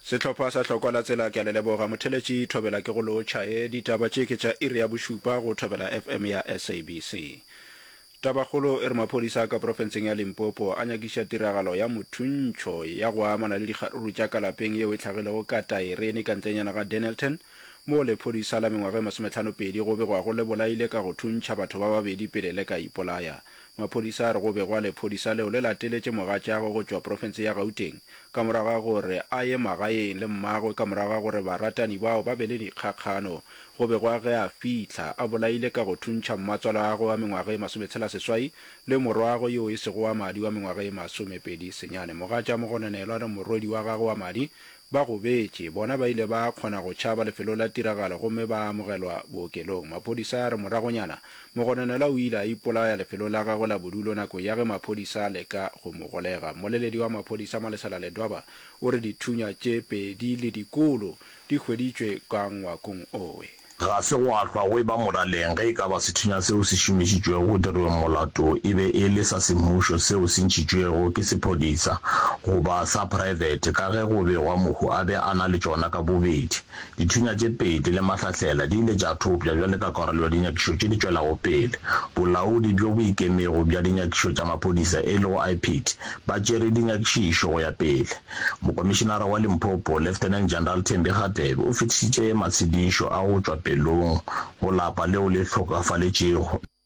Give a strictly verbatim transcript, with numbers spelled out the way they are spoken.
Sehlopha sa Hlokwa la Tsela ke a le leboga. Motheletši Thobela ke go lotšha. E, ditaba tše ke tša iri ya bošupa go Thobela FM ya SABC. Tabakgolo e re maphodisa a ka profenseng ya Limpopo a nyakiša tiragalo ya mothuntšho ya go amana le dikgaruru tša ka lapeng yeo e hlagilego ka Taerene ka ntlenyana ga Dennilton moo lephodisa la mengwaga e masometlhano-pedi go begwago le bolaile ka go thuntšha batho ba babedi pele le ka ipolaya. Maphodisa a re go begwa lephodisa leo le lateletše mogatšagwe go tšwa profense ya Gauteng ka morago ga gore a ye magaeng le mmagwe ka morago ga gore baratani bao ba be le dikgakgano. Go begwa ge a fihla a bolaile ka go thuntšha mmatswalagwe wa mengwaga e masometshela-seswai le morwagwe yo e sego wa madi wa mengwaga e masomepedi senyane. Mogatša mogononelwa le morwedi wa gagwe wa madi ba gobetše. Bona ba ile ba kgona go tšhaba lefelong la tiragalo gomme ba amogelwa bookelong. Maphodisa a re moragonyana mogononelwa o ile a ipolaya lefelong la gagwe la bodulo nakong ya ge maphodisa a leka go mo golega. Mmoleledi wa maphodisa Malesela Ledwaba o re dithunya tše pedi le dikolo di hweditšwe ka ngwakong owe. Ga se gwa hlwa go eba moraleng ge e ka ba sethunya seo se šomišitšwego go dirweng molato e be e le sa semmušo seo se ntšhitšwego ke sephodisa goba sa praebete ka ge go begwa mohu a be a na le tšona ka bobedi. Dithunya tše pedi le mahlahlela di ile tša thopša bjale ka karolo ya dinyakišo tše di tšwelago pele. Bolaodi bjo bo ikemego bja dinyakišo tša maphodisa e lego I P I D ba tšere dinyakišišo go ya pele. Mokomišenara wa Limpopo, Lieutenant General Thembi Kgatebe o fetišitše matshedišo a go tšwa pelong go lapa leo le hlokafaletšego.